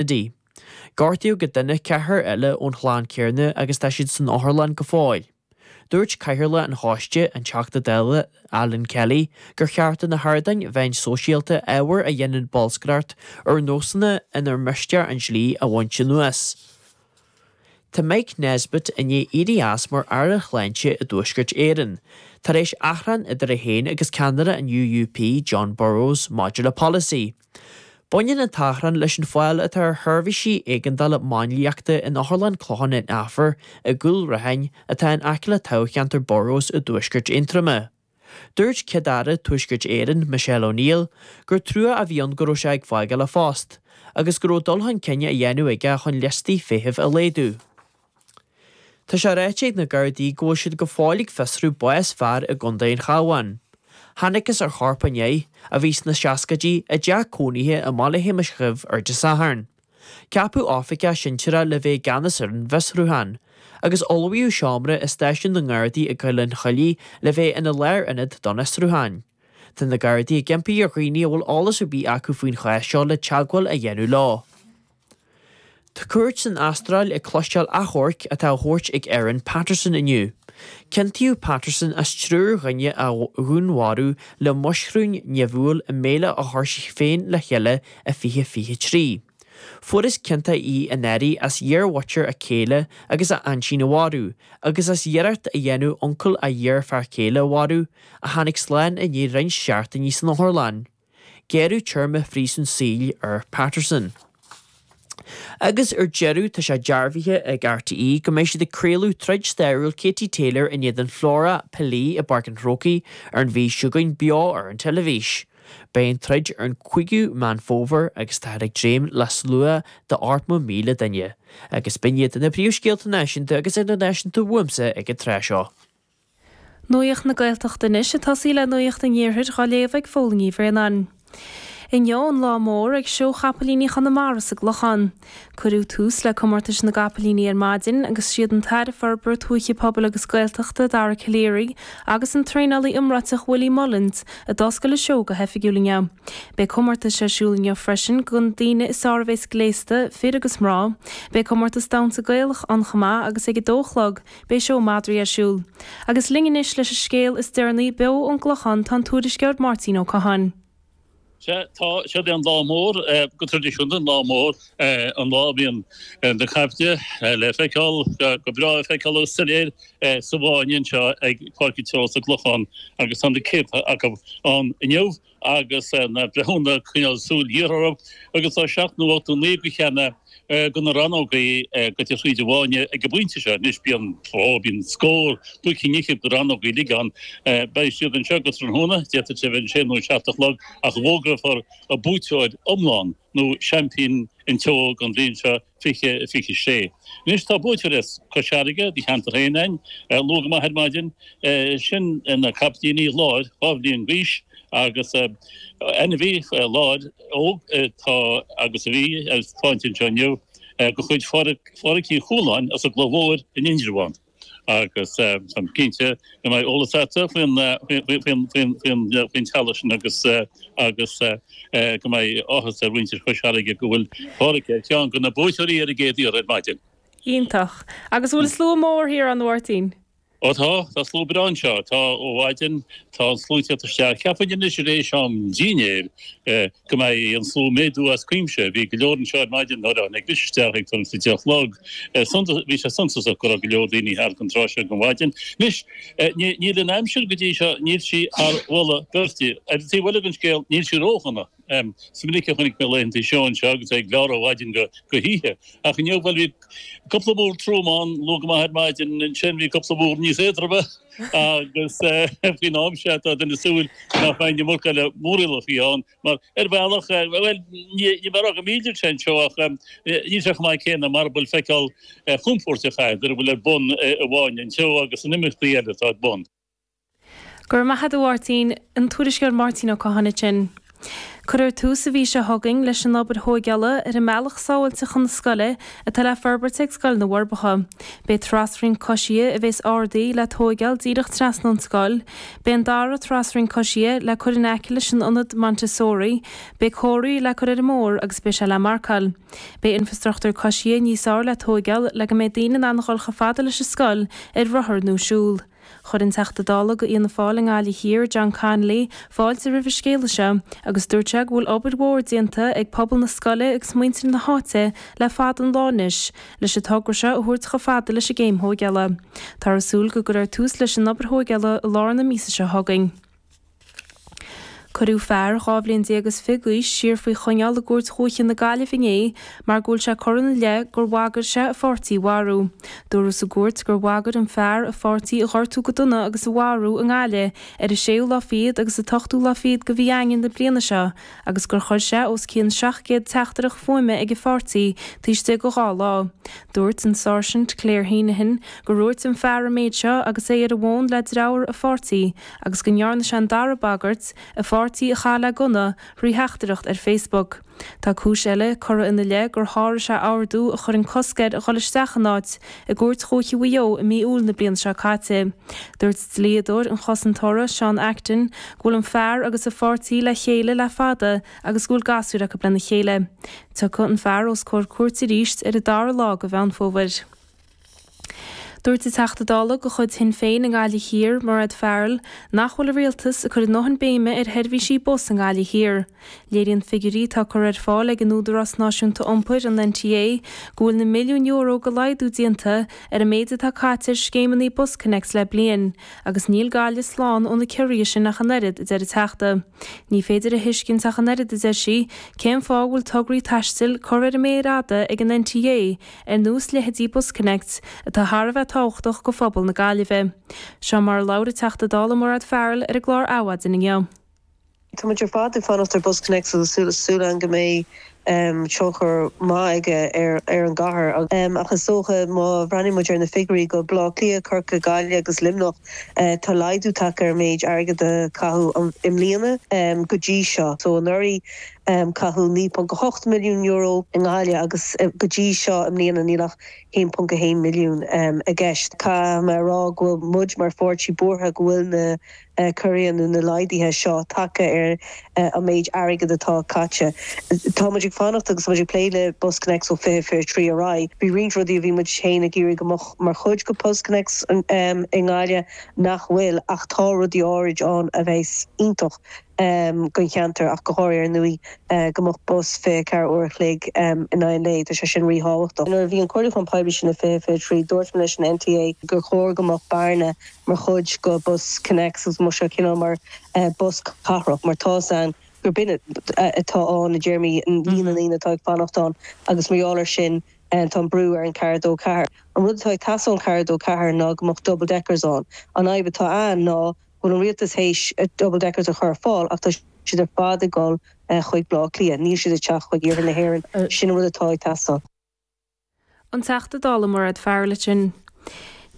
Kennedy. Gortaíodh go dona ceathrar eile ón chlann céanna agus tá siad san otharlann go fóill. Dúirt Cathaoirleach an choiste, an Teachta Dála Alan Kelly, gur cheart do na hardáin mheáin sóisialta ábhar a dhéanann bolscaireacht ar nósanna inar miste an dlí a bhaint anuas. Tá Mike Nesbitt i ndiaidh éirí as mar Aire Shláinte i dTuaisceart Éireann, tar éis achrann idir é féin agus ceannaire an UUP, Jon Burrows, maidir le polasaí. Baineann an t-achrann leis an fáil atá ar sheirbhísí éigeandála máinliachta in Otharlann Clochán an Aifir i gCúil Raithin atá in aice le toghcheantar Burrows i dTuaisceart Aontroma. Dúirt Céad-Aire Tuaisceart Éireann, Michelle O'Neill, gur trua a bhí ann go raibh sé ag fágáil a phost, agus go raibh dul chun cinn á dhéanamh aige chun liostaí feithimh a laghdú. Tá sé ráite ag na Gardaí go bhfuil siad go fóill ag fiosrú bás fear i gContae an Chabháin. Thángthas ar chorp an fhir, a bhí sna seascaidí, i dteach cónaithe i mBaile Shéamais Dhuibh ar Dé Sathairn. Ceapadh oifigeach sinsearach le bheith i gceannas ar an bhfiosrúchán, agus ullmhaíodh seomra i stáisiún na nGardaí i gCoill an Choiligh le bheith ina lárionad don fhiosrúchán. Tá na Gardaí ag impí ar dhaoine a bhfuil eolas ar bith acu faoin chás seo le teagmháil a dhéanamh leo. Tá cúirt san Astráil ag cloisteáil achomhairc atá á thabhairt ag Erin Patterson inniu. Ciontaíodh Patterson as triúr dhuine a dhúnmharú le muisiriún nimhiúil i mbéile a chuir sí féin le chéile i 2023. Fuarthas ciontach í anuraidh as iarmhuintir a céile agus a aintín a mharú, agus as iarracht a dhéanamh uncail a iarfhear céile a mharú, a tháinig slán i ndiaidh roinnt seachtainí san otharlann. Gearradh téarma phríosún saoil ar Patterson. Agus ar deireadh, tá sé dearbhaithe ag RTÉ go mbeidh siad ag craoladh troid stairiúil Katie Taylor in éadan Flora Pili i bPáirc an Chrócaigh ar an mhí seo chugainn beo ar an teilifís. Beidh an troid ar an 5ú Meán Fómhair agus táthar ag dréim le slua de 80,000 duine. Agus b'in iad na príomhscéalta náisiúnta agus idirnáisiúnta uaimse ag an tráth seo. Nuacht na Gaeltachta anois ag tosaí le Nuacht an Iarthair dhá léamh ag Fódhla Ní Bhraonáin. Inniu an lá mór ag Seó Chapaillíní Chonamara sa gClochán. Cuireadh tús le comórtais na gcapaillíní ar maidin agus siad an tAire Forbartha Tuaithe Pobail agus Gaeltachta Dara Calleary agus an traenálaí iomráiteach Willie Mullins a d'oscail an seó go hoifigiúil inniu. Beidh comórtais ar siúl inniu freisin do na daoine is fearr a bhéas gléasta, fir agus mná. Beidh comórtas damhsa Gaelach ann chomh maith agus ag a dó a chlog Beidh seó madraí ar siúl. Agus linn anois leis an scéal is deireanaí beo ón gClochán tá an tuairisceoir Máirtín Ó Catháin. Sea, tá, siod é an lá mór, go traidisiúnta, an lá mór, an lá a bhíonn na caiple le feiceáil, go breá le feiceáil agus soiléir sa bhfáinne anseo ag Páirc an tSeó sa gClochán agus tá na céadta acu ann inniu. agus na breithiúna ag coinneáil súil ghéar orthu agus tá 7 nó 8 nó 9 acu cheana de na rannógaí gaibhte thríd an bhfáinne ag an bpointe seo. Anois bíonn, ó, bíonn scór, buaic an fhichid de rannógaí uilig ann. Beidh siad anseo go tráthnóna, d'fhéadfadh sé a bheith an sé nó an 7 a chlog ach a bhfógrófar an buaiteoir iomlán nó seaimpín an tseó don bhliain seo. 20, 26. Anois tá buaiteoir as Cois Fharraige, do cheantar féin, ann, luath go maith ar maidin. Sin na capaillíní láir, 2 bhliain d'aois, agus ainmhí láir óg atá agus a bhí ar taispeáint anseo inniu, de chuid Phádhraic Uí Chualáin as an gCloich Mhóir in Indreabhán. Agus táim cinnte go mbeidh eolas agat faoin teaghlach sin agus agus go mbeidh áthas ar mhuintir Chois Fharraige go bhfuil Pádhraic ar cheann de na buaiteoirí ar an gcéad iarraidh ar maidin. Iontach. Agus an bhfuil slua mór thiar ann, a Mháirtín? Ó tá, tá slua breá anseo. Tá ó mhaidin, tá an slua ag teacht isteach. Cheapfainn anois tar éis am dinnéir go mbeidh an slua ag méadú as cuimse. Bhí go leor anseo ar maidin nuair a tháinig mise isteach ag tuairim is a deich a chlog. Bhí sé suntasach go raibh go leor daoine thart an tráth seo den mhaidin. Anois, níl an aimsir go dtí seo, níl sí thar mholadh beirte. Ar an taobh eile den scéal, níl sí ródhona. Is minic a chonaic mé laethanta seó anseo agus é ag gleáradh ó mhaidin go hoíche. Ach inniu, bhuel, bhí cúpla múr trom ann luath go maith ar maidin, ansin bhí cúpla múr níos éadroime agus faoin am seo tá duine ag súil nach mbeidh an iomarca eile múraíleachaí ann. Mar ar bhealach, bhuel, ní bheadh go milltear sé anseo ach níl sé chomh maith céanna mara bhfuil feiceáil chompóirteach agat ar a bhfuil ar bun i bhFáinne an tSeó agus in imeachtaí eile atá ar bun. Go raibh maith agat a Mháirtín, an tuairisceoir Máirtín Ó Catháin ansin. Cuirfear tús an mhí seo chugainn leis an obair thóigeála ar an mbealach sábháilte chun na scoile atá le forbairt ag Scoil na bhForbacha. Beidh trasrian coisithe a bhéas ardaithe le tóigeáil díreach trasna ón scoil. Beidh an dara trasrian coisithe le cur in aice leis an ionad Montessori. Beidh comharthaí le cur ar an mbóthar agus beidh sé le marcáil. Beidh infreastruchtúr coisithe níos fearr le tóigeáil le go mbeidh daoine in ann a dhul chomh fada leis an scoil ar rothar nó siúl. Chuir an Teachta Dála go Fhianna Fáil i nGaillimh Thiar, John Connolly, fáilte roimh an scéala seo agus dúirt sé go bhfuil obair mhór déanta ag pobal na scoile agus muintir na háite le fada an lá anois leis an togra seo a thabhairt chomh fada leis an gcéim thóigeála. Táthar ag súil go gcuirfear tús leis an obair thóigeála i lár na míosa seo chugainn. Cuireadh fear 12 bhliain is fiche d'aois siar faoi choinneáil i gCúirt Dhúiche na Gaillimhe inné mar go bhfuil sé curtha ina leith gur bhagair sé a pháirtí a mharú. Dúradh sa gcúirt gur bhagair an fear a pháirtí a ghortú go dona agus a mharú i nGaillimh ar an séú lá fichead agus an t-ochtú lá fichead de mhí Eanáir na bliana seo agus gur chuir sé os cionn 700 teachtaireacht fuaime ag a pháirtí taobh istigh de dhá lá. Dúirt an Sáirsint Claire Heneghan gur dhúirt an fear an méid seo agus é ar an bhfón le deartháir a pháirtí agus go ndearna sé an dara bagairt, a pháirtí a chaith le gunna, thrí theachtaireacht ar Facebook. Tá cúis eile curtha ina leith gur sháraigh sé ordú a chuireann cosc air a dhul isteach in áit i gCúirt Dhúiche Mhaigh Eo i mí Iúil na bliana seo caite. Dúirt dlíodóir an chosantóra, Seán Acton, go bhfuil an fear agus a pháirtí le chéile le fada agus go bhfuil gasúir acu lena chéile. Tiocfaidh an fear os comhair cúirte arís ar an dara lá de Mheán Fómhair. Dúirt an Teachta Dála de chuid Shinn Féin i nGaillimh Thiar, Mairéad Farrell, nach bhfuil an Rialtas ag cur a ndóthain béime ar sheirbhísí bus i nGaillimh Thiar. Léiríonn figiúirí atá curtha ar fáil ag an Údarás Náisiúnta Iompair, an NTA, go bhfuil na milliúin euro de laghdú déanta ar an méid atá caite ar scéimeanna BusConnects le bliain, agus níl Gaillimh slán ó na ciorruithe sin ach an oiread, a deir an Teachta. Ní féidir a thuiscint ach an oiread, a deir sí, cén fáth a bhfuil tograí taistil curtha ar an méar fhada ag an NTA ar nós leithéidí BusConnects, atá thar a bheith tábhachtach go phobal na Gaillimhe. Seo mar a labhair an Teachta Dála Mairéad Farrell ar an gclár Adhmhaidin inniu. Tá muid ar fad ag fanacht ar BusConnects agus súil againn go mbeidh tionchar maith aige ar an gcathair. Ach is dócha má bhreathnaíonn muid ar na figiúirí go Baile Átha Cliath, Corcaigh, Gaillimh agus Luimneach, tá laghdú tagtha ar an méid airgid a caitheadh i mbliana go dtí seo. So anuraidh Caitheadh €9.8 milliún i nGaillimh agus go dtí seo i mbliana níl ach €1.1 milliún i gceist. Caithfidh mé a rá go bhfuil muid mar pháirtí buartha go bhfuil na ciorruithe nó na laghduithe seo tagtha ar an méid airgid atá caite. Tá muid ag fanacht agus muid ag plé le BusConnects ó 2023 ar aghaidh. Bhí roinnt rudaí a bhí muid féin ag iarraidh go mbeadh mar chuid de BusConnects i nGaillimh nach bhfuil ach tá rudaí áirid ann a bheas iontach don cheantar ach go háirithe ar ndóigh go mbeadh bus 24 uair a chloig in aghaidh an lae, tá sé sin ríthábhachtach. Nuair a bhí an comhairliúchán poiblí sin i 2023 dúirt mé leis an NTA gur chóir go mbeadh bearna mar chuid de BusConnects agus go mbeadh sé cineál mar bus cathrach mar tá 's ann gur b'in atá ann i dtéarmaí líon na ndaoine atá ag fanacht ann agus mar gheall air sin tá an brú ar an 4 2 4. An rud atá ag teastáil ón 4 2 4 ná go mbeadh double deckers ann. An fhadhb atá ann ná go bhfuil an rialtas théis double deckers a chur ar fáil ach tá siad ar fad ag dul chuig Baile Átha Cliath, níl siad ag teacht chuig iarthar na hÉireann. Sin an rud atá ag teastáil. An Teachta Dála Mairéad Farrell ansin.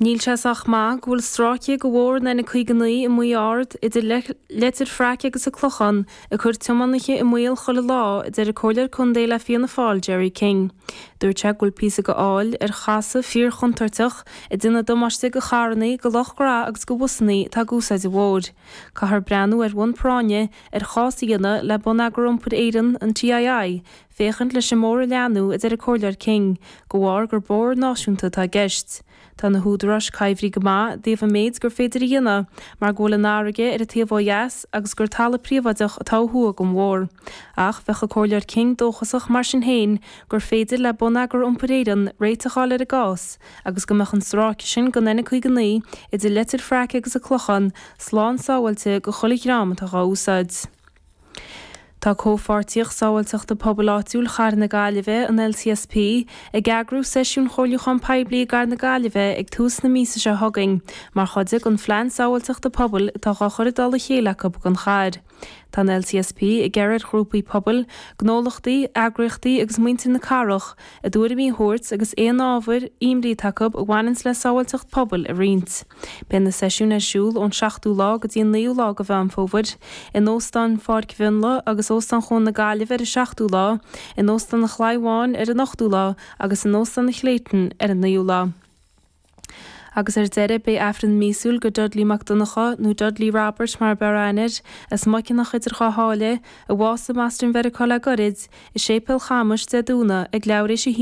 Níl sé sách maith go bhfuil stráice de bhóthar an N59 i Maigh Ard idir Leitir Fraic agus an Clochán ag cur tiománaithe i mbaol chuile lá, a deir an Comhairleoir Contae le Fianna Fáil Gerry King. Dúirt sé go bhfuil píosa de fhaill ar chasadh fíorchontúirteach ag déanamh damáiste go charrannaí, go lucht gnó agus go bhusannaí atá ag úsáid an bhóthair. Caithfear breathnú ar bhonn práinne ar chás a dhéanamh le Bonneagar Iompair Éireann, an TII, féachaint leis an mbóthar a leathnú, a deir an Comhairleoir King, de bharr gur bóthar náisiúnta atá i gceist. Tá na húdaráis coimhthí go maith i dtaobh an méid gur féidir a dhéanamh mar go bhfuil an fharraige ar an taobh ó dheas agus gur talamh príobháideach atá ó thuaidh den bhóthar. Ach bheadh an Comhairleoir King dóchasach mar sin féin gur féidir le Bonneagar Iompair Éireann réiteach a fháil ar an gcás agus go mbeadh an stráice sin den N59 idir Leitir Fraic agus an Clochán slán sábháilte go chuile dhream atá dhá úsáid. Tá Comhpháirtíocht Sábháilteachta Pobail Áitiúil Chathair na Gaillimhe, an LCSP, ag eagrú seisiún chomhairliúchán poiblí i gCathair na Gaillimhe ag tús na míosa seo chugainn mar chuid den Phlean Sábháilteachta Pobail atá dhá chur i dtoll a chéile acu don chathair. Tá an LCSP ag iarraidh ar ghrúpaí pobail, gnólachtaí, eagraíochtaí agus muintir na cathrach a dtuairimí a thabhairt agus aon ábhair imní atá acu a bhaineanns le sábháilteacht pobail a roinnt. Beidh na seisiúin ar siúl ón seachtú lá go dtí an naoú lá de Mheán Fómhair, in Óstán Pháirc Mhionlaigh agus Óstán Chuan na Gaillimhe ar an seachtú lá, in Óstán an Chlaí Bháin ar an ochtú lá agus in Óstán an Clayton ar an naoú lá. Agus ar deireadh, beidh Aifreann míosúil go Dudley Mac Donncha, nó Dudley Robert mar ab fhearr aithne air, as Muiceanach idir Dhá Sháile, a bhásaigh i mBoston Mheiriceá le goirid, i Séipéal Chamais, Dé Domhnaigh, ag leathuair éis a.